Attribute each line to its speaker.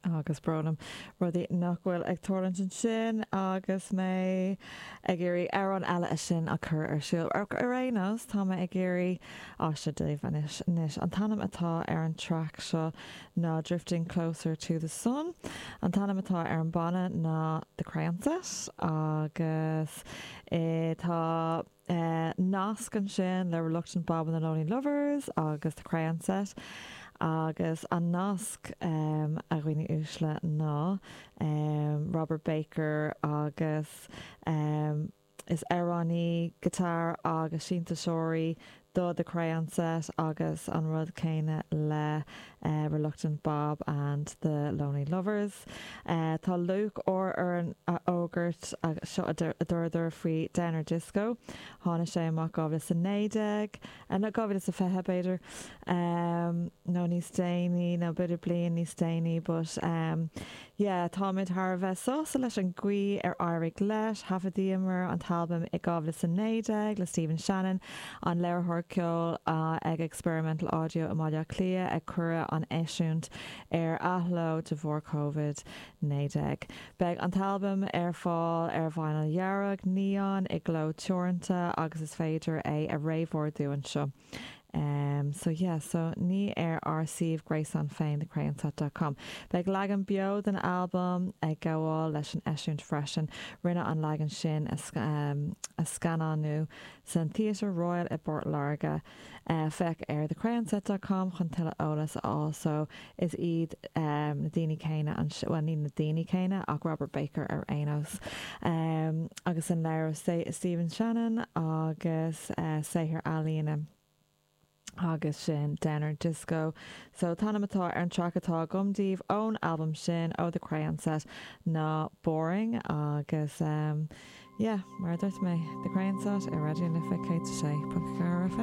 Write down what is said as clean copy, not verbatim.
Speaker 1: Agus brón orm rudaí nach bhfuil ag tarlúint ansin agus mé ag iarraidh amhrán eile a sin a chur ar siúl. Ach ar aon nós, tá mé ag iarraidh á seo daoibh anois. Anois, an t-ainm atá ar an traic seo ná Drifting Closer to the Sun. An t-ainm atá ar an banna ná The Crayon Set agus tá. Nasc ansin le Reluctant Bob and the Lonely Lovers agus The Crayon Set agus an nasc, a dhaoine uaisle, ná Robert Baker agus is amhránaí, guitar agus sintéiseoirí do The Crayon Set agus an rud céanna le Reluctant Bob and the Lonely Lovers. Tá lúcháir orainn a fhógairt, seo a dúradar faoi Downer Disco. Tháinig sé amach 2019, nó 2020 b'fhéidir, nó níos déanaí, nó b'fhéidir bliain níos déanaí but yeah, táimid thar a bheith sásta leis an gcaoi ar éirigh leis. Thaifeadaíomar an t-albam i 2019 le Stephen Shannon, an léiritheoir ceoil ag Experimental Audio i mBaile Átha Cliath, ach cuireadh an eisiúint ar athló de bharr Covid-19. Beidh an t-albam ar fáil ar vinyl dhearg, neon, i gcló teoranta agus is féidir é a réamhordú anseo. Em, so yeah, so ní ar ár suíomh gréasáin féin thecrayonset dot com. Beidh leagan beo den albam ag gabháil leis an eisiúint freisin. Rinneadh an leagan sin a, em, a scannánú san Theatre Royal i bPort Láirge. Eh, féach ar thecrayonset dot com chun tuilleadh eolas a fháil. So, is iad, em, na daoine céanna anseo, bhuel ní na daoine céanna ach Robert Baker ar aon nós. Em, agus an léiritheoir Stephen Shannon agus, eh, saothar ealaíne agus sin Downer Disco. So, an t-ainm atá ar an traic atá agam daoibh ón albam sin, ó The Crayon Set, ná Boring agus, em, yeah, mar a dúirt mé, The Crayon Set ar Raidió na Life 106.4 FM.